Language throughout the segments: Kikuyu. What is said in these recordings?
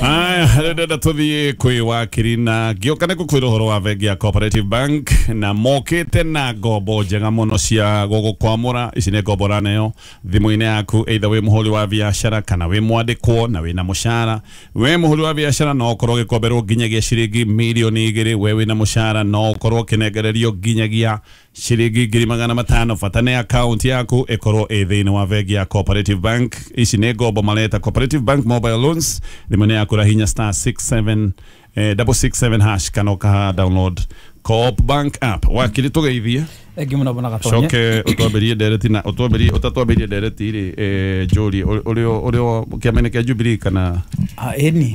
Aya, ndĩrenda tũthiĩ kwĩ wakiri na ngĩũka nĩ gũkwĩra ũhoro wa bengi ya Cooperative Bank na mokĩte na ngombo njega mũno cia gũgũkwamũra. Ici nĩ ngombo ũraneo thimũ-inĩ yaku, either wĩ mũhũri wa biacara kana wĩ mwandĩkwo na wĩna mũcara. We mũhũri wa biacara no ũkorwo ũgĩkomberwo nginyagia ciringi 2,000,000. We wĩna mũcara no ũkorwo ũkĩnengererio nginyagia ciringi 500,000. Bata nĩ account yaku ĩkorwo ĩ thĩinĩ wa bengi ya Cooperative Bank. Ici nĩ ngombo mareta Cooperative Bank Mobile Loans. Thimũ-inĩ yaku rahinya star 67 667 hash kana ũkaha download Co-op Bank app. Wakiri, tũgeithie. Thengi mũno bwana Gatonye. Coke ũtwambĩrie ndereti na ũtwambĩrie ũtatwambĩrie ndereti rĩ, njũrie ũrĩ ũrĩ kĩama-inĩ kĩa Jubilee kana Ah, ĩni.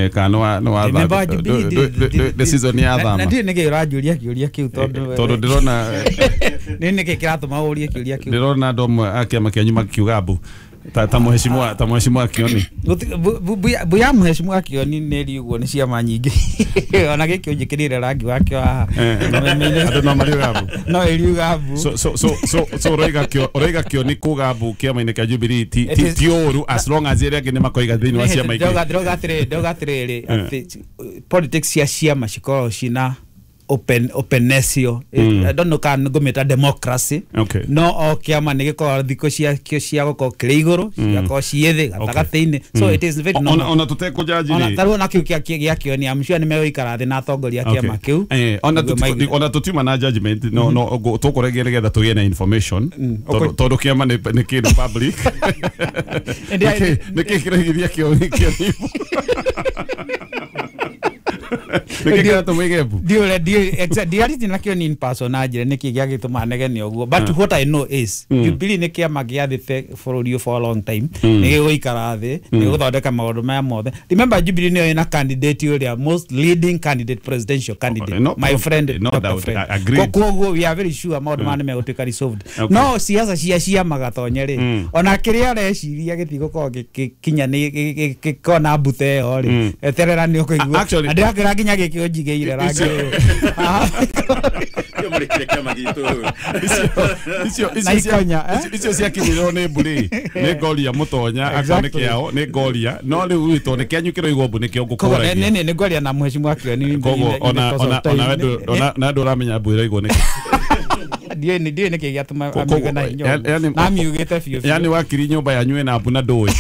Kana nĩ wa Member wa Jubilee. The season ya Na thama. ndiũĩ nĩkĩ ũranjũria kĩũria kĩu tondũ Tondũ ndĩrona nĩ nĩkĩ kĩratũma ũrie kĩũria kĩu? Ndĩrona andũ amwe a kĩama kĩanyu makiuga mbu ta mheshimiwa Kioni. Mbu ya mheshimiwa Kioni nĩ ĩri ũguo nĩ ciama nyingĩ, ona gĩkĩ ũnjĩkĩrĩre rangi wakĩo haha. Andũ no mariuga mbu. No ĩriuga mbu. So ũroiga Kioni kuga mbu kĩama-inĩ kĩa Jubilee ti It ti is- ti ũru as long as arĩa angĩ nĩ makoiga thĩinĩ wa ciama ingĩ. Ndauga atĩrĩrĩ atĩ politics cia ciama cikoragwo cina openness yo. I don't know kana ngũmĩta democracy. No o kĩama nĩ gĩkoragwo thikũ ciakĩo cia gũkorwo kĩrĩ igũrũ, cigakorwo ciĩ thĩ, gatagatĩ-inĩ, so it is very normal. Ona tũtekũjaji Ona rĩ. tarĩu ona kĩu gĩa Kĩoni, I'm sure nĩ megũikara thĩ na atongoria a kĩama kĩu Ona nĩguo ona tũtiuma na judgment, no tũkũregia nĩgetha tũgĩe na information tondũ kĩama nĩ kĩndũ public. Nĩkĩ kĩraigithia Kioni? Nĩkĩ kĩratũma ige mbu? Ndiũre ndiarĩtie na Kĩoni in person na njĩre nĩkĩ gĩagĩtũma negene ũguo, but what I know is Jubilee nĩ kĩama gĩathĩte bũrũri ũyũ for a long time, nĩ gĩgũikara thĩ, nĩ gĩgũthondeka maũndũ maya mothe. Remember, Jubilee nĩyo ĩna candidate ũrĩa most leading candidate, presidential candidate, No, my friend, no Dr. doubt, Fred. Agreed. Koguo we are very sure maũndũ maya nĩ megũtuĩka resolved. No siasa cia ciama, Gatonye, rĩ, ona kĩrĩa areciria gĩtigũkorwo gĩkinya nĩ gĩkorwo na mbute ĩyo rĩ, eterera nĩ ũkũigua. Actually- Na ndĩrakĩra nginya gĩkĩ ũnjigĩire rangi ũyũ. Kĩo mũrĩkire kĩama gitũ. Icio Na ikonya, eh? Icio ciakinyĩrwo nĩ mbũrĩ nĩ ngoria mũtonya akorwo nĩ kĩao nĩ ngoria, no rĩu tondũ nĩ kĩanyu kĩroigwo mbu nĩkĩo Koguo ngũkũragia. nĩ ngwaria na mheshimiwa Kioni. Koguo ona we ona ndũramenya mbu ĩroigwo nĩkĩ. Ndiũĩ nĩkĩ gĩatũma amiuge na hinya ũguo. Na amiugĩte biũ biũ. Yani wakiri, nyũmba yanyu ĩna mbu na ndũĩ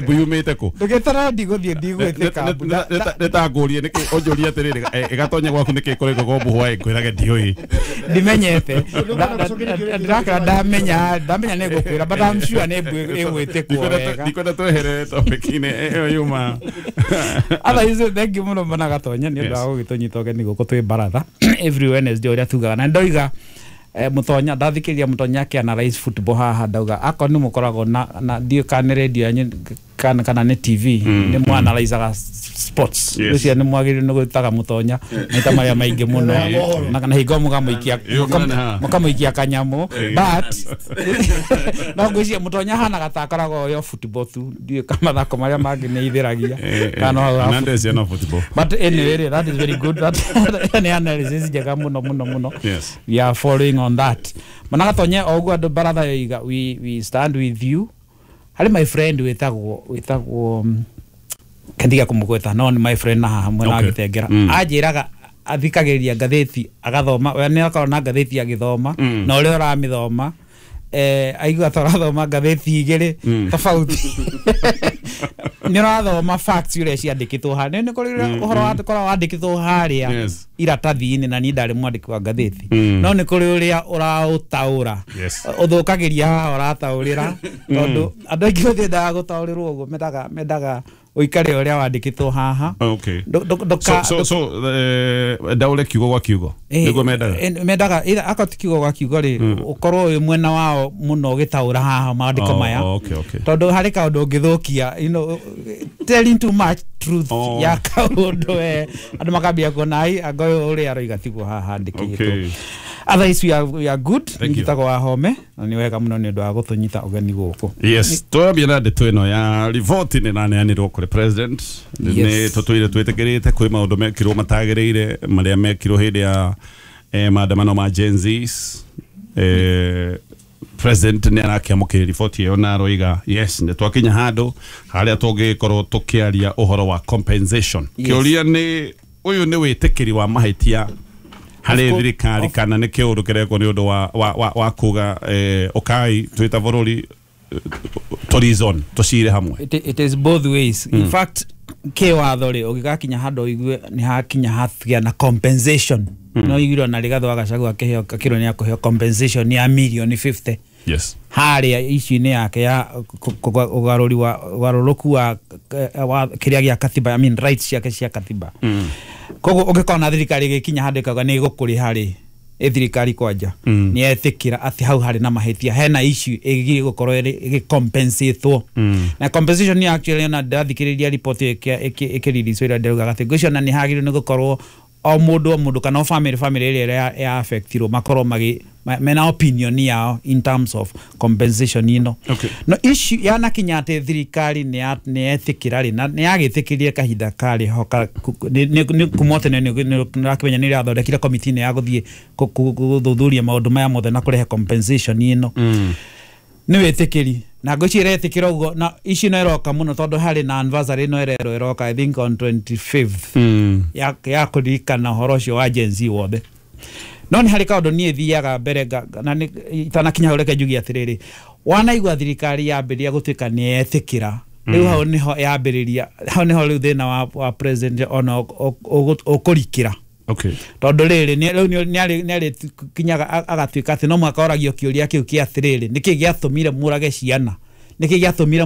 mbu yumĩte kũ? Ndũgĩtara ndigũthiĩ ndigwĩtĩka mbu. Nĩtangũrie nĩkĩ ũnjũrie atĩrĩrĩ, ĩgatonya gwaku nĩkĩ kũrĩgwo mbu hwaĩ, ngwĩrage ndiũĩ. Ndimenyete. Ndirakĩra ndamenya nĩ ngũkwĩra, but I'm sure nĩ mbu ĩgwĩtĩkwo wega. Ndikwenda tweherere topic-inĩ ĩyo yuma. Otherwise, thank you mũno bwana Gatonye nĩ ũndũ wa gũgĩtũnyita ũgeni gũkũ twĩ baratha every Wednesday ũrĩa tugaga. Na ndoiga mũtonya ndathikĩrĩria mũtonya akĩ-analyze football haha, ndauga akorwo nĩ mũkoragwo na ndiũĩ kana nĩ radio yanyu kana nĩ TV nĩ mwanalyzaga sports. Ũcio nĩ mwagĩrĩirwo nĩ gwĩtaga mũtonya maita marĩa maingĩ mũno na hingo mũkamũikia Ĩyo mũnene haha. Mũkamũikia kanyamũ, but no ngwĩciria mũtonya hanaga ta akoragwo yo football tu, ndiũĩ kana mathako marĩa mangĩ nĩ ithĩragia kana no hau ha Na ndeci no football. But anyway rĩ, that is very good, that nĩ analysis njega mũno mũno mũno. We are following on that mana Gatonye o ũguo andũ baratha yoiga, we stand with you. Harĩ my friend wĩtagwo kendiga kũmũgweta, no nĩ my friend na haha mwena wa Gĩtengera. Anjĩraga athikagĩrĩria ngathĩti agathoma, we nĩ akoragwo na ngathĩti agĩthoma, na ũrĩa ũramĩthoma aigua ta ũrathoma ngathĩti igĩrĩ tofauti, nĩ ũrathoma facts ũrĩa ciandĩkĩtwo harĩa, nĩ kũrĩ ũrĩa ũhoro wakoragwo wandĩkĩtwo harĩa iratathi-inĩ, na niĩ ndarĩ mwandĩki wa ngathĩti, no nĩ kũrĩ ũrĩa ũraũtaũra, ũthũkagĩria haha ũrataũrĩra, tondũ andũ aingĩ matiendaga gũtaũrĩrwo ũguo, mendaga ũikare ũrĩa wandĩkĩtwo haha. So ndaũre kiugo gwa kiugo nĩguo mendaga. Mendaga either akorwo ti kiugo gwa kiugo rĩ, ũkorwo wĩ mwena wao mũno ũgĩtaũra haha maandĩko maya, tondũ harĩ kaũndũ ũngĩthũkia, telling too much truth ya kaũndũ, andũ makambia kuona ai anga ũyũ ũrĩa aroiga tiguo haha handĩkĩtwo. Otherwise we are good. Thank you. Njĩtagwo Wahome na nĩ wega mũno nĩ ũndũ wa gũtũnyita ũgeni gũkũ. Yes, twambia na ndeto ĩno ya riboti nĩ raneanirwo kũrĩ president. Nĩ tũtũire twĩtĩkĩrĩte kwĩ maũndũ mekirwo matagĩrĩire marĩa mekirwo hĩndĩ ya maandamano ma Gen Zs. President nĩ arakĩamũkĩra riboti ĩyo na aroiga yes, nĩ twakinya handũ harĩa tũngĩkorwo tũkĩaria ũhoro wa compensation. Kĩũria nĩ ũyũ nĩ wĩtĩkĩri wa mahĩtia harĩ thirikari kana nĩ kĩũndũ kĩrekwo nĩ ũndũ wa kuga ũkai twĩta bũrũri tourism tũcire hamwe. It is both ways. In fact, kĩwatho rĩ ũgĩgakinya handũ ũigue nĩ hakinya hatigĩa na compensation. No igiro na Rigathi wa Gachagua akĩheo akĩrwo nĩ akũheo compensation ya milioni 50. Yes. Harĩa issue-inĩ yake ya ũgarũri wa ũgarũrũku wa kĩrĩa gĩa katiba, I mean rights ciake cia katiba. Koguo ũngĩkorwo thirikari ĩgĩkinya handũ ĩkauga nĩ ĩgũkũrĩha rĩ, thirikari kwanja nĩ yetĩkĩra atĩ hau harĩ na mahĩtia, hena issue ĩgiĩ gũkorwo ĩgĩcompensatwo. Na compensation nĩ actually ona ndathikĩrĩria report ĩkĩrelease ĩrĩa ndĩraugaga atĩ ngwĩciria ona nĩ hagĩrĩirwo nĩ gũkorwo o mũndũ kana o family ĩrĩa ya affectirwo makorwo mena opinion yao in terms of compensation ĩno. Okay. No issue yanakinya atĩ thirikari nĩ yetĩkĩra rĩ, na nĩ yagĩtĩkĩrie kahinda karĩ ho kuma tene nĩ ũrakĩmenya nĩ ĩrathondekire committee ya gũthiĩ gũthuthuria maũndũ maya mothe na kũrehe compensation ĩno. Nĩ wĩtĩkĩri na ngwĩciria ĩretĩkĩra ũguo, na issue no ĩroka mũno tondũ harĩ na anniversary ĩno ĩrerwo ĩroka I think on 25th ya kũririkana ũhoro ũcio wa Gen Z wothe. No nĩ harĩ kaũndũ niĩ thiaga mbere na itanakinya hau reke njuge atĩrĩrĩ, wanaigua thirikari yambĩrĩria gũtuĩka nĩ yetĩkĩra, rĩu hau nĩho yambĩrĩria, hau nĩho rĩu thĩna wa president ona ũkũrikĩra. Okay. Tondũ rĩrĩ rĩu nĩ arĩkinyaga agatuĩka atĩ no mũhaka oragio kĩũria kĩu kĩa atĩrĩrĩ, nĩkĩ gĩatũmire mũrage ciana, nĩkĩ gĩatũmire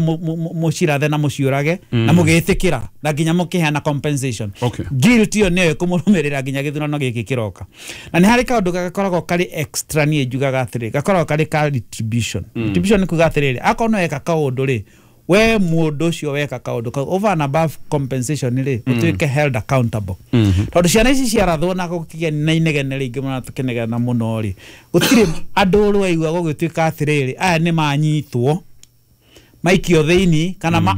mũcirathe na mũciũrage na mũgĩtĩkĩra na nginya mũkĩheana compensation. Okay. Guilt ĩyo nĩyo ĩkũmũrũmĩrĩra nginya gĩthurano gĩkĩ kĩroka. Na nĩ harĩ kaũndũ gakoragwo karĩ extra niĩ njugaga atĩrĩ, gakoragwo karĩ ka retribution. Retribution nĩ kuga atĩrĩrĩ, akorwo no eka kaũndũ rĩ, we mũndũ ũcio weka kaũndũ kau over and above compensation rĩ, ũtuĩke held accountable. Tondũ ciana ici ciarathwo na gũkĩgĩa na inegene rĩingĩ mũno tũkĩnegena mũno rĩ, gũtirĩ andũ rwaigua gũgĩtuĩka atĩrĩrĩ, aya nĩ manyitwo maikio thĩinĩ kana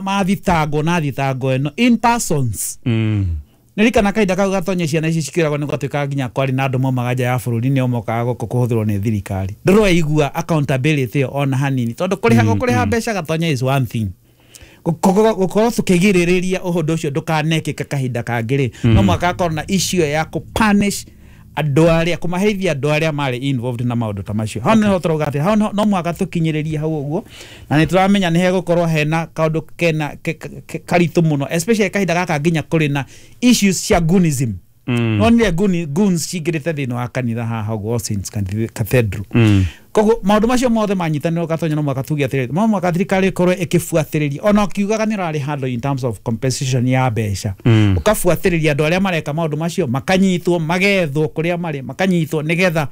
mathitangwo na thitango ĩno in persons. Nĩririkana kahinda kau gatonye ciana ici cikĩragwo nĩ gwatuĩkaga nginya kwarĩ na andũ maumaga nja ya bũrũri nĩo mokaga gũkũ kũhũthĩrwo nĩ thirikari. Ndũraigua accountability ĩyo ona hanini, tondũ kũrĩha mbeca gatonya is one thing. Gũkorwo tũkĩgirĩrĩria ũndũ ũcio ndũkanekĩke kahinda kangĩ rĩ, no mũhaka akorwo na issue ya kũ-punish andũ arĩa, kũmaherithia andũ arĩa marĩ involved na maũndũ ta macio. Hau nĩho tũrauga atĩ hau no mũhaka tũkinyĩrĩrie hau ũguo, na nĩ tũramenya nĩ hegũkorwo hena kaũndũ kena karitũ mũno, especially kahinda gaka nginya kũrĩ na issues cia goonism. Nonire goons cingĩrĩte thĩinĩ wa kanitha haha ũguo Saints Cathedral. Koguo maũndũ macio mothe manyitanĩrwo gatonya no mũhaka tuge atĩrĩrĩ, no mũhaka thirikari ĩkorwo ĩkĩbuatĩrĩria ona ũkiugaga nĩ ũrarĩ handũ in terms of compensation ya mbeca, ũkabuatĩrĩria andũ arĩa mareka maũndũ macio makanyitwo, magethwo kũrĩa marĩ, makanyitwo nĩgetha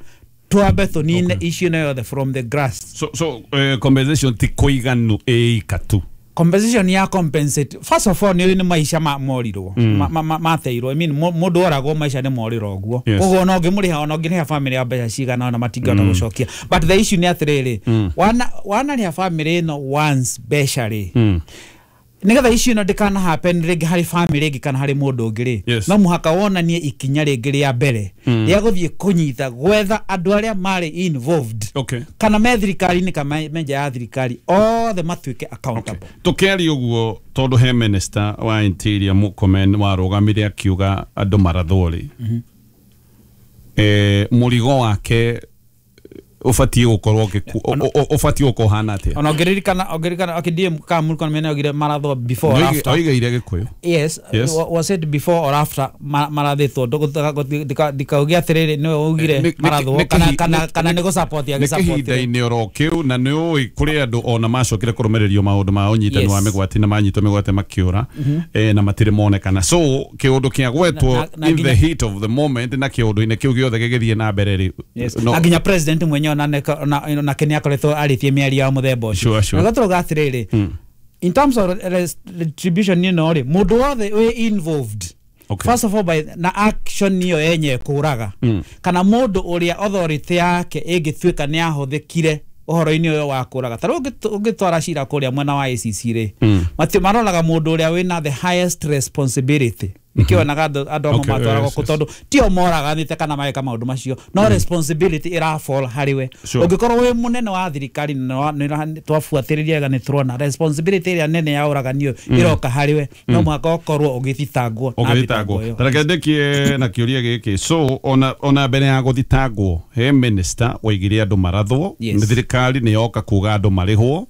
twambe tũnine issue ĩno yothe from the grass. So compensation ti kũiganu ĩika tu. Compensation ya compensate first of all nĩ maica morirwo mateirwo, I mean mũndũ oragwo maica nĩ morirwo ũguo, koguo ona ũngĩmũrĩha ona ũngĩrĩha family ya mbeca cigana ona matingĩhota gũcokia. But the issue nĩ atĩrĩrĩ, wanarĩha family ĩno once mbeca rĩ, nĩgetha issue ĩno ndĩkana happen rĩngĩ harĩ family ĩngĩ kana harĩ mũndũ ũngĩ rĩ, no mũhaka wonanie ikinya rĩngĩ rĩa mbere rĩa gũthiĩ kũnyita gwetha andũ arĩa marĩ involved. Okay. Kana me thirikari-inĩ kana me nja ya thirikari, othe matuĩke accountable. Tũkĩaria ũguo tondũ he minister wa interior Murkomen warũgamire akiuga andũ marathwo rĩ, mũrigo wake ũbatiĩ gũkorwo ũbatiĩ gũkorwo ũhana atĩa? Ona ũngĩririkana okay, DM ka Murkomen augire marathwo before or after. Oigaire Gĩkũyũ. Yes, was it before or after marathĩtwo? Ndikauge atĩrĩrĩ nĩwe augire marathwo kana nĩ gũ-support agĩ-support. Nĩ kĩhinda-inĩ oro kĩu, na nĩ ũĩ kũrĩ andũ ona macokire kũrũmĩrĩrio maũndũ ma ũnyitani wa mĩgwate na manyitwo mĩgwate makĩũra, na matirĩ monekana. So kĩũndũ kĩagwetwo in the heat of the moment na kĩũndũ-inĩ kĩu gĩothe gĩgĩthiĩ na mbere rĩ, na nginya president mwenyewe na nake nĩ akoretwo arĩtie mĩario ya mũthemba ũcio. Na gatũrauga atĩrĩrĩ, in terms of retribution ĩno rĩ, mũndũ wothe wĩ involved, first of all by na action ĩyo yenye kũraga, kana mũndũ ũrĩa authority yake ĩngĩtuĩka nĩ ahũthĩkire ũhoro-inĩ ũyũ wa kũraga, ta rĩu ũngĩtwara cira kũrĩa mwena wa ACC rĩ, maroraga mũndũ ũrĩa wĩna the highest responsibility. Nikionaga andũ amwe matwaragwo kũ tondũ tio moraganĩte kana mageka maũndũ macio no responsibility ĩra fall harĩ we. Ũngĩkorwo wĩ mũnene wa thirikari na twabuatĩrĩria wega nĩ tũrona responsibility ĩrĩa nene ya ũragani ũyũ ĩroka harĩ we, no mũhaka ũkorwo ũgĩthitangwo. Ũgĩthitangwo. Tareke ndĩkie na kĩũria gĩkĩ. So ona mbere ya gũthitangwo he minister waigire andũ marathwo, nĩ thirikari nĩ yoka kuga andũ marĩhwo,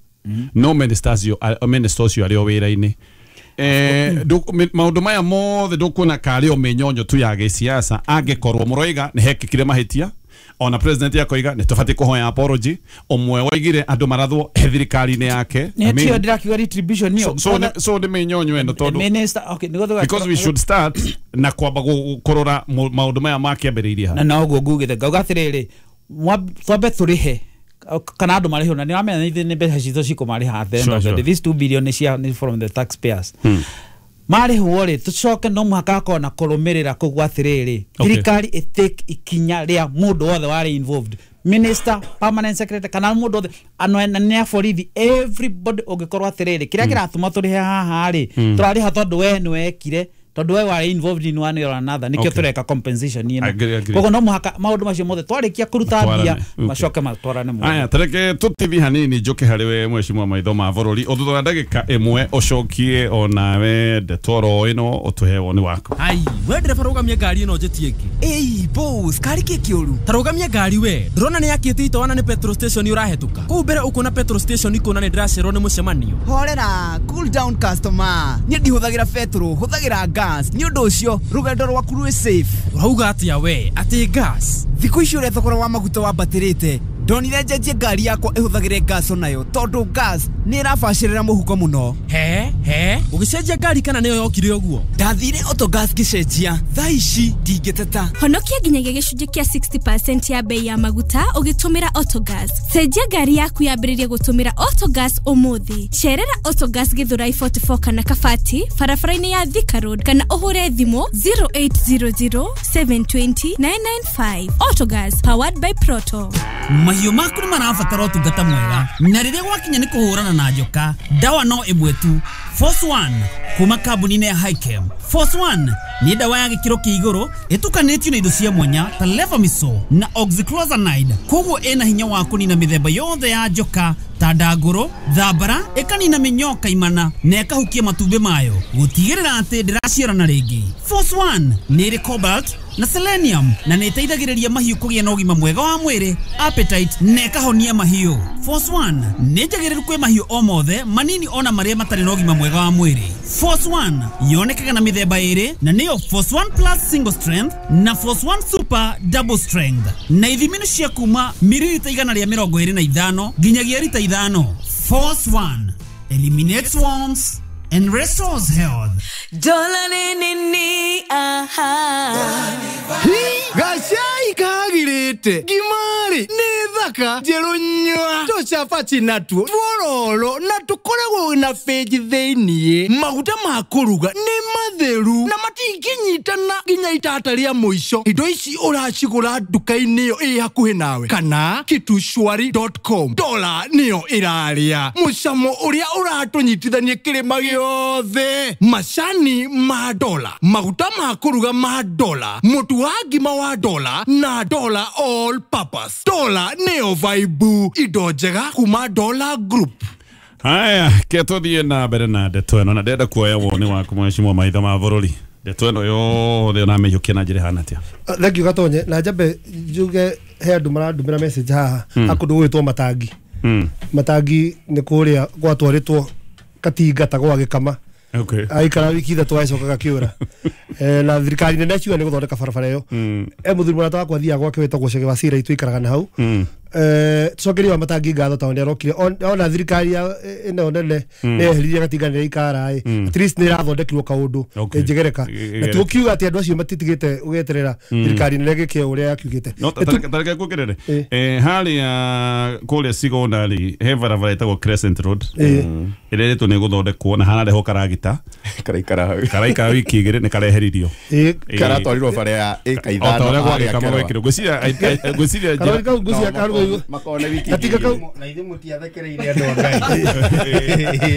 no minister ũcio arĩ o wĩra-inĩ. Maũndũ maya mothe ndũkuona karĩ o mĩnyonyo tu ya gĩsiasa angĩkorwo mũroiga nĩ hekĩkire mahĩtia, ona president yakoiga nĩ tũbatiĩ kũhoya apology, ũmwe waigire andũ marathwo thirikari-inĩ yake. Nĩ ndĩrakiuga retribution nĩyo. So nĩ mĩnyonyo ĩno tondũ minister, okay, because we should start na kwamba kũrora maũndũ maya makĩambĩrĩirie ha. Na noguo ngugĩte ngauga atĩrĩrĩ, twambe tũrĩhe kana andũ marĩhwo, na nĩwamenya nĩ mbeca citũ cikũmarĩha at the end of the day. This 2 billion nĩ from the taxpayers. Marĩhwo rĩ, tũcoke no mũhaka akorwo na kũrũmĩrĩra kũguo atĩrĩrĩ, thirikari ĩtake ikinya rĩa mũndũ wothe warĩ involved, minister, permanent secretary, kana mũndũ wothe anene a borithi, everybody ũngĩkorwo atĩrĩrĩ kĩrĩa kĩratũma tũrĩhe haha rĩ, tũrarĩha tondũ we nĩwekire, tondũ we warĩ involved in one or another, nĩkĩo tũreka compensation ĩno. Koguo no mũhaka maũndũ macio mothe twarĩkia kũruta mbia macoke matwarane mũno. Aya, tareke tũtithi hanini njũke harĩ we mheshimiwa maitho ma bũrũri, o thutha wa ndagĩka ĩmwe ũcokie onawe ndeto oro ĩno ũtũhe woni waku. Ai, we ndereba rũgamia ngari ĩno njĩtie ĩngĩ. Ĩi boss, kari kĩ kĩũru? Ta rũgamia ngari we, ndũrona nĩ yakĩte itoana nĩ petrol station ũrahetũka. Kũu mbere ũkuona petrol station ikuona nĩ ndĩracererwo nĩ mũcemanio. Horera, cool down customer. Niĩ ndihũthagĩra petrol, hũthagĩra gas. Nĩ ũndũ ũcio rũgendo rwaku rwĩ safe. Ũrauga atĩa we atĩ gas? Thikũ ici ũrĩa thogora wa maguta wambatĩrĩte, ndonire njenjie ngari yakwa ĩhũthagĩre gas onayo tondũ gas nĩ ĩrabacĩrĩra mũhuko mũno. He ũgĩcenjia ngari kana nĩyo yokire ũguo? Ndathire Autogas ngĩcenjia, thaa ici ndingĩteta. Honokia nginyagia gĩcunjĩ kĩa 60% ya bei ya maguta ũgĩtũmĩra Autogas. Cenjia ngari yaku yambĩrĩrie gũtũmĩra Autogas ũmũthĩ. Cerera Autogas Githurai 44 kana Kabati barabara-inĩ ya Thika Road kana ũhũre thimũ 0800 720 995. Autogas, powered by Proto. Mahiũ maku nĩ marabatara ũtungata mwega, na rĩrĩa gwakinya nĩ kũhũrana na njoka, ndawa no ĩmwe tu, Force One kuma kambuni-inĩ ya Hikem. Force One nĩ ndawa ya gĩkĩro kĩa igũrũ ĩtukanĩtio na indo cia mwanya ta levamisole na oxyclozanide, koguo ĩna hinya wa kũnina mĩthemba yothe ya njoka ta ndangũrũ, thambara, ĩkanina mĩnyoo kaimana na ĩkahukia matumbĩ mayo gũtigĩrĩra atĩ ndĩraciarana rĩngĩ. Force One nĩ ĩrĩ cobalt na selenium na nĩ ĩteithagĩrĩria mahiũ kũgĩa na ũgima mwega wa mwĩrĩ, appetite na ĩkahonia mahiũ. Force One nĩ njagĩrĩru kwĩ mahiũ o mothe manini ona marĩa matarĩ na ũgima mwega wa mwĩrĩ. Force One yonekaga na mĩthemba ĩrĩ na nĩyo Force One Plus Single Strength na Force One Super Double Strength, na ithimi nĩ cia kuma mililita 125 nginyagia rita 5. Force One eliminates worms and restores health. Gacai kagirite ngimari nĩ thaka njerũ nyua tũcabaci natuo twororo na tũkoragwo na benji thĩiniĩ. Maguta ma kũruga nĩ matheru na matingĩnyitana nginya itata rĩa mũico. Indo ici ũracigũra nduka-inĩ ĩyo ĩ hakuhĩ nawe kana kitushwari.com. Dola nĩyo ĩrarĩa mũcamo ũrĩa ũratũnyitithania kĩrĩma gĩothe. Macani ma dola, maguta ma kũruga ma dola, mũtu wa ngima wa dola na dola all purpose. Dola nĩyo vibe, indo njega kuma Dola Group. Haya, ketũthiĩ na mbere na ndeto ĩno, na ndĩrenda kuoya woni waku mheshimiwa maitho ma bũrũri. Ndeto ĩno yothe ũramĩiyũkia na njĩra ĩhana atĩa? Thank you Gatonye. Na njambe njuge he andũ marandũmĩra message haha akũndũ gwĩtwo Matangi. Matangi nĩ kũrĩa gwatwarĩtwo katinga ta gwa gĩkama. Okay. Aikara wiki ithatũ agĩcoka gakĩũra. Na thirikari nene ciuga nĩ gũthondeka barabara ĩyo. Mũthuri mũrata wakwa athiaga gwake wĩtagwo Chege wa Cira, itũikaraga na hau. Tucokerie wa Matangi ngatho tondũ nĩarokire ona thirikari ĩno nene nĩyeheririe gatinga nĩ ĩikara ĩ, at least nĩ ĩrathondekirwo kaũndũ ĩnjegereka, na tũkiuga atĩ andũ acio matitigĩte ũgeterera thirikari nene gĩke ũrĩa yakiugĩte. No tareke kuongerere harĩa kũrĩa Sigona rĩ, he barabara ĩtagwo Crescent Road ĩrĩa ĩrĩtwo nĩ gũthondekwo na hararehwo karagita karaikara wiki igĩrĩ nĩ kareheririo, karatwarirwo bara ya ĩka ithano o ta ũrĩa gwagĩkama gwekĩrwo. Ngwĩciria Makone wiki. Katika kau na ithe mutiathekereire andu a Ngai.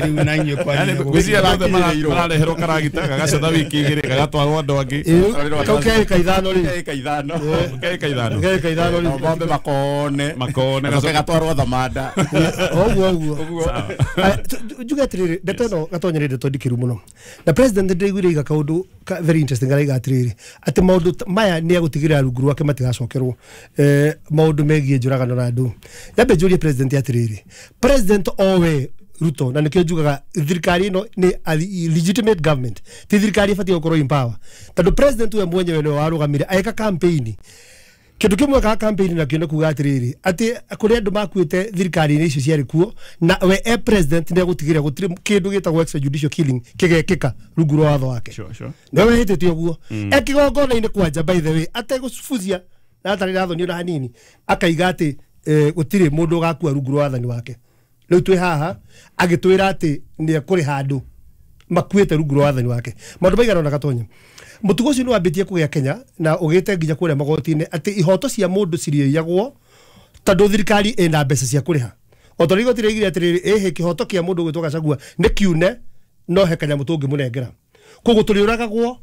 Riu na inyuĩ kwanyu. Gwĩciria andũ othe marareherwo karagita gagacotha wiki igĩrĩ gagatwarwo andũ angĩ. Kau ke ĩka ithano rĩ. Ĩka ithano. Ke ĩka ithano. Ke ĩka ithano rĩ. Ng'ombe makone. Makone gacoke gatwarwo Thamanda. Ũguo ũguo. Njuge atĩrĩrĩ, ndeto ĩno Gatonya nĩ ndeto ndikĩru mũno. Na president ndĩraiguire iga kaũndũ very interesting araiga atĩrĩrĩ, atĩ maũndũ maya nĩ egũtigĩrĩra rungu rwake matigacokerwo maũndũ megiĩ njũragano na andũ. Nyambe njũrie president atĩrĩrĩ, president owe Ruto, na nĩkĩo njugaga thirikari ĩno nĩ a legitimate government, ti thirikari ĩbatiĩ gũkorwo in power, tondũ president we mwenyewe nĩwe warũgamire agĩka campaign. Kĩndũ kĩmwe ka campaign nakĩo nĩ kuga atĩrĩrĩ, atĩ kũrĩ andũ makuĩte thirikari-inĩ icio ciarĩ kuo, na we e president nĩ egũtigĩrĩra gũtirĩ kĩndũ gĩtagwo extrajudicial killing kĩgekĩka rungu rwa watho wake. Nĩwe wĩhĩtĩte ũguo. E kĩgongona-inĩ kwanja, by the way, ategũbucia na atarĩ na thoni ona hanini, akaiga atĩ gũtirĩ mũndũ ũgakua rungu rwa wathani wake. Rĩu twĩ haha agĩtwĩra atĩ nĩ ekũrĩha andũ makuĩte rungu rwa wathani wake. Maũndũ maigana ũna Gatonya. Mũtugo ũcio nĩ wambĩtie kũgĩa Kenya na ũgĩte nginya kũrĩa magoti-inĩ atĩ ihoto cia mũndũ cirĩiyagwo tondũ thirikari ĩna mbeca cia kũrĩha. O ta ũrĩa igoti rĩoigire atĩrĩrĩ, ĩhĩ kĩhoto kĩa mũndũ ũgwĩtwo Gachagua nĩ kiune no he kanyamũ tũngĩmũnengera. Koguo tũrĩũragagwo,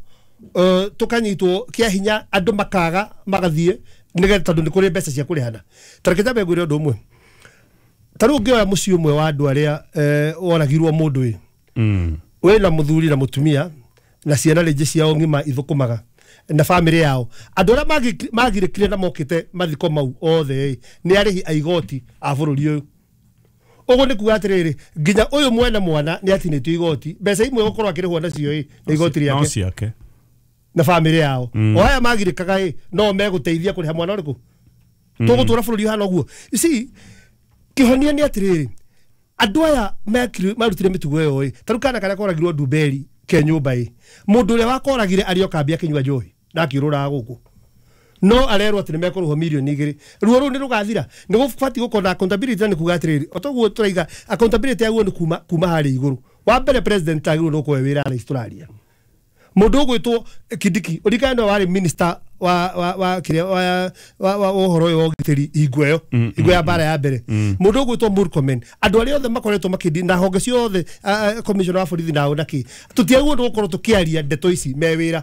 tũkanyitwo kĩa hinya, andũ makaga magathiĩ nĩgetha tondũ nĩ kũrĩ mbeca cia kũrĩhana. Ta reke nyambe ngwĩre ũndũ ũmwe. Ta rĩu ũngĩoya mũciĩ ũmwe wa andũ arĩa woragirwo mũndũ ĩ, wĩna mũthuri na mũtumia na ciana rĩngĩ ciao ng'ima ithũkũmaga na bamĩrĩ yao, andũ arĩa magirĩkire na mokĩte mathiko mau othe nĩ arĩhi a igoti a bũrũri ũyũ. Ũguo nĩ kuga atĩrĩrĩ, nginya ũyũ mwene mwana nĩ atinĩtio igoti, mbeca imwe gũkorwo akĩrĩhwo nacio ĩ nĩ igoti rĩake na bamĩrĩ yao. O aya magirĩkaga ĩ no megũteithia kũrĩha mwana ũrĩkũ? Tũgũtũra bũrũri ũhana ũguo. You see, kĩhonia nĩ atĩrĩrĩ, andũ aya marutire mĩtugo ĩyo ĩ, ta rĩu kana karĩa koragirwo Ndumberi ke nyũmba ĩ, mũndũ ũrĩa wakoragire arĩ o kambĩ akĩnyua njohi na akĩũrũraga gũkũ, no arerwo atĩ nĩ mekũrĩhwo mirioni 2. Ruo rũu nĩ rũgathira. Nĩ gũbatiĩ gũkorwo na accountability, na nĩ kuga atĩrĩrĩ, o toguo tũraiga accountability yaguo nĩ kuma harĩa igũrũ. Wa mbere president agĩrĩirwo nĩ gũkorwo e wĩra thaa ici tũraria. Mũndũ ũgwĩtwo Kindiki, ũririkane nĩwe warĩ minister wa kĩrĩa wa ũhoro ũyũ wa ũgitĩri hingo ĩyo, hingo ya mbara ya mbere. Mũndũ ũgwĩtwo Murkomen, andũ arĩa othe makoretwo makĩndi na honge ciothe, commissioner wa borithi nao na kĩ, tũtiagĩrĩirwo nĩ gũkorwo tũkĩaria ndeto ici me wĩra.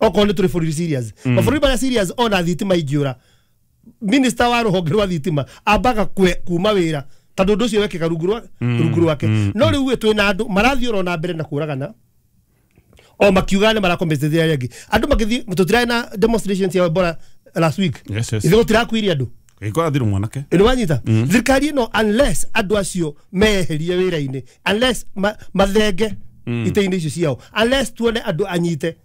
Okorwo nĩ tũrĩ bũrũri serious, mabũrũri marĩa serious ona thitima ingĩũra, minister wa rũhonge rwa thitima ambaga kuma wĩra tondũ ũndũ ũcio wekĩka rungu rwake. No rĩu twĩna andũ marathiĩ oro na mbere na kũragana o makiuga nĩ marakompensate arĩa angĩ. Andũ magĩthiĩ, tũtirarĩ na demonstrations cia Ebola last week. Ithuĩ gũtirakuire andũ. Ĩkorathirwo mwanake. Nĩ wanyita? Thirikari ĩno unless andũ acio meherie wĩra-inĩ, unless mathenge itĩ-inĩ icio ciao, unless tuone andũ anyite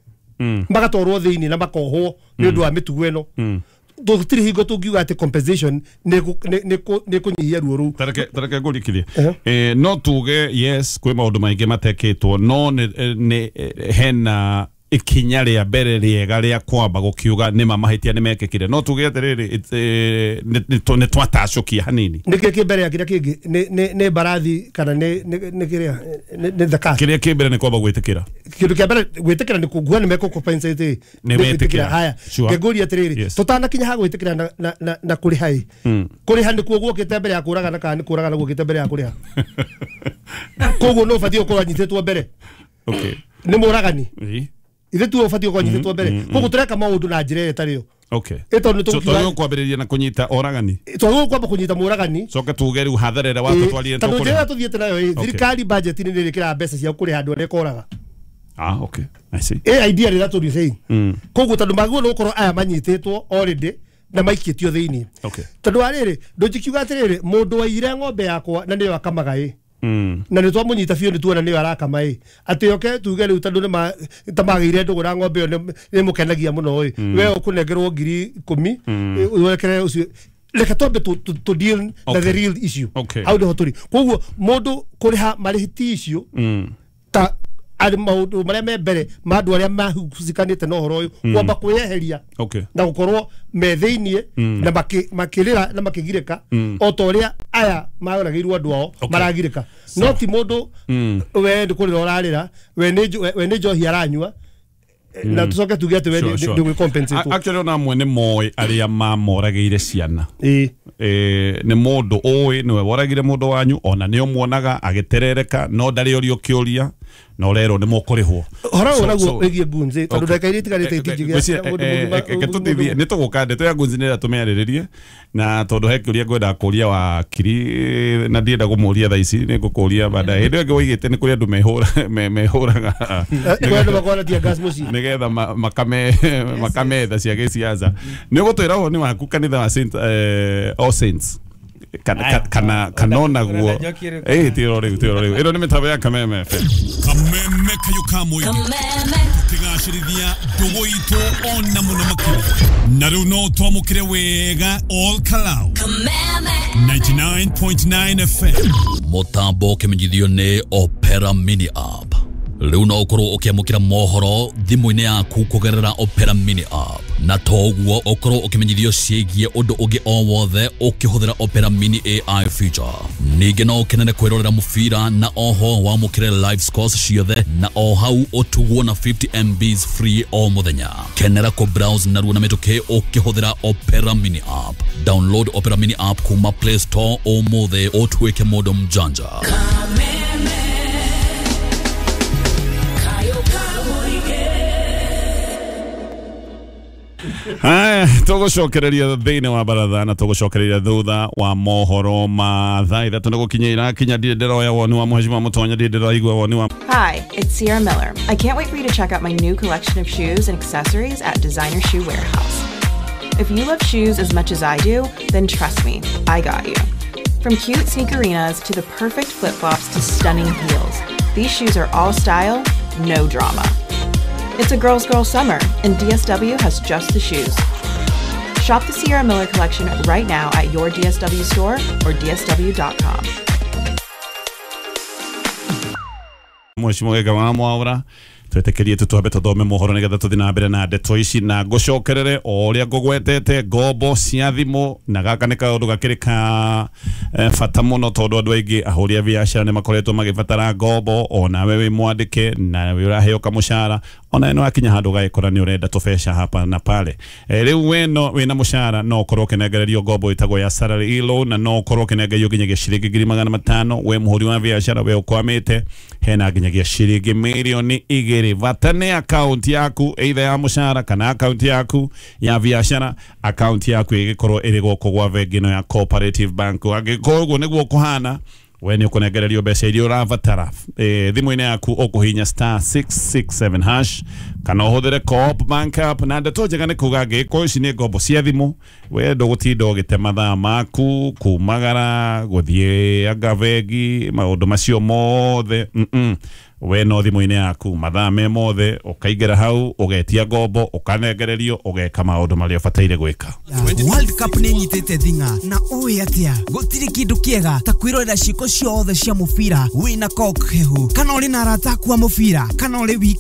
magatwarwo thĩinĩ na makohwo nĩ ũndũ wa mĩtugo ĩno, tũtirĩ hingo tũngiuga atĩ compensation nĩ kũnyihia ruo rũu. Tareke ngũrikithie. No tuge yes kwĩ maũndũ maingĩ matekĩtwo, no nĩ hena ikinya rĩa mbere rĩega rĩa kwamba gũkiuga nĩ ma mahĩtia nĩ mekĩkire. No tuge atĩrĩrĩ, nĩ twatacũkia hanini. Nĩkĩĩ kĩ mbere ya kĩrĩa kĩngĩ? Nĩ mbarathi kana nĩ kĩrĩa nĩ the car? Kĩrĩa kĩ mbere nĩ kwamba gwĩtĩkĩra. Kĩndũ kĩa mbere gwĩtĩkĩra nĩ kuga nĩ mekũ-compensate. Nĩ metĩkĩra. Haya, ngĩngũria atĩrĩrĩ, tũtanakinya ha gwĩtĩkĩra na kũrĩha ĩ, kũrĩha nĩkuo guokĩte mbere ya kũragana kana nĩ kũragana guokĩte mbere ya kũrĩha? Koguo no ũbatiĩ gũkorwo anyitĩtwo mbere. Nĩ mũragani. Ithe tu ũbatiĩ gũkorwo anyitĩtwo mbere. Koguo tũreka maũndũ na njĩra ĩrĩa ĩtarĩ yo. Ĩ tondũ nĩ tũgũkiuga kwambĩrĩria na kũnyita oragani. Twagĩrĩirwo kwamba kũnyita mũragani. Coke tuge rĩu hathara ĩrĩa watũtwarire tondũ njĩra ĩrĩa tũthiĩte nayo ĩ, thirikari budget-inĩ nĩ ĩrĩkĩraga mbeca cia kũrĩha andũ arĩa ĩkoraga. Okay. I see. Ĩ idea rĩrĩa tũrĩ saying. Koguo tondũ magĩrĩirwo nĩ gũkorwo aya manyitĩtwo already na maikĩtio thĩinĩ. Tondũ wa rĩrĩ, ndũngikiuga atĩrĩrĩ, mũndũ waiyire ng'ombe yakwa na nĩyo akamaga ĩ, na nĩ twamũnyita biũ nĩ tuona nĩyo arakama ĩ, atĩ oke tuge rĩu tondũ nĩ ta magĩire ndũgũ na ng'ombe ĩyo nĩ mũkenagia mũno ĩ, we ũkũnengerwo 10,000 wekere ũcio. Reke twambe tũ deal na the real issue. Hau nĩho tũrĩ. Koguo mũndũ kũrĩha marĩhi ti icio ta arĩ maũndũ marĩa me mbere ma andũ arĩa mahucikanĩte na ũhoro ũyũ, kwamba kwĩyeheria na gũkorwo me thĩiniĩ na makĩrĩra na makĩgirĩka o ta ũrĩa aya maragĩirwo andũ ao maragirĩka. No ti mũndũ we nĩ kũrĩra ũrarĩra, we nĩ njohi aranyua, Na tucoke tuge atĩ we ndũgwĩ compensate. Actually ona amwe nĩ moĩ arĩa mamoragĩire ciana. Nĩ mũndũ ũĩ nĩwe woragire mũndũ wanyu, ona nĩ ũmuonaga agĩterereka, no ndarĩ ũrio kĩũria, na ũrerwo nĩ mũkũrĩhwo. Hora ũyũ naguo wĩgiĩ ngunzi, tondũ ndagĩka iria itigarĩte itingĩgĩa mũndũ. Nĩ tũgũka ndeto ya ngunzi nĩ tũmĩarĩrĩrie, na tondũ he kĩũria ngwendaga kũria wakiri na ndienda kũmũria thaa ici, nĩ ngũkũria baadaye. Hĩndĩ ĩyo ĩngĩ woigĩte nĩ kũrĩ andũ mehũraga nĩgetha makametha cia gĩciaca. Nĩ ũgũtwĩra ũhoro nĩ waku kanitha wa Saint All Saints kana kanonaguo tiro rĩu ĩno nĩ mĩtambo ya Kameme FM. Kameme kayo ka mũingĩ tũkĩgacĩrithia ndũgũ itũ ona mũno makĩria, na rĩu no twamũkĩre wega all Kalau Kameme 99.9 FM. Mũtambo ũkĩmenyithio nĩ Opera Mini App. Rĩu no ũkorwo ũkĩamũkĩra mohoro thimũ-inĩ yaku kũgerera Opera Mini App, na to ũguo ũkorwo ũkĩmenyithio ciĩgiĩ ũndũ ũngĩ o wothe ũkĩhũthĩra Opera Mini AI feature. Ningĩ no ũkenere kwĩrorera mũbira na oho wamũkĩre live scores ciothe, na o hau ũtugwo na 50 MBs free o mũthenya. Kenera kũ browse narua na mĩtũkĩ ũkĩhũthĩra Opera Mini App. Download Opera Mini App kuma Play Store ũmũthĩ ũtuĩke mũndũ mjanja. Haya, tũgũcokereria thĩinĩ wa baratha na tũgũcokereria thutha wa mohoro ma thaa ithatũ nĩ gũkinya irakinya. Ndirĩ ndĩroya woni wa Mheshimiwa Mũtonya, ndirĩ ndĩraigua woni wa. Hi, it's Sierra Miller. I can't wait for you to check out my new collection of shoes and accessories at Designer Shoe Warehouse. If you love shoes as much as I do, then trust me, I got you. From cute sneakerinas to the perfect flip-flops to stunning heels, these shoes are all style, no drama. It's a girl's girl summer, and DSW has just the shoes. Shop the Sierra Miller collection right now at your DSW store or dsw.com. Mheshimiwa Gĩka wa Mwaura, twĩtĩkĩrie tu twambe tũthome mohoro nĩgetha tũthiĩ na mbere na ndeto ici, na ngũcokerere o ũrĩa ngũgwetete ngombo cia thimũ, na gaka nĩ kaũndũ gakĩrĩ ka bata mũno tondũ andũ aingĩ ahũri a biacara nĩ makoretwo magĩbatara ngombo. Onawe wĩ mwandĩke na wĩ ũraheo kamũcara, ona nĩ wakinya handũ ũgagĩkora nĩ ũrenda tũbeca hapa na pale. Rĩu we no wĩna mũcara no ũkorwo ũkĩnengererio ngombo ĩtagwo ya salary e-loan, na no ũkorwo ũkĩnengererio nginyagia ciringi 500,000. We mũhũri wa biacara, we ũkwamĩte, hena nginyagia ciringi 2 million. Bata nĩ account yaku either ya mũcara kana account yaku ya biacara, account yaku ĩgĩkorwo ĩrĩ gũkũ gwa bengi ĩno ya Cooperative Bank. Angĩkorwo ũguo nĩguo kũhana, we nĩ ũkũnengererio mbeca iria ũrabatara thimũ-inĩ yaku ũkũhinya *667 hash kana ũhũthĩre Co-op Bank app. Na ndeto njega nĩ kuga angĩkorwo ici nĩ ngombo cia thimũ, we ndũgũtinda ũgĩte mathaa maku kumagara gũthiĩ anga bengi, maũndũ macio mothe. We no thimũ-inĩ yaku mathaa me mothe ũkaingĩra hau ũgetia ngombo ũkanengererio ũgeka maũndũ marĩa ũbataire gwĩka. World Cup nĩ nyitĩte thing'a na ũĩ atĩa gũtirĩ kĩndũ kĩega ta kwĩrorera ciĩko ciothe cia mũbira wĩna coke hehu, kana ũrĩ na arata aku a mũbira, kana ũrĩ wika.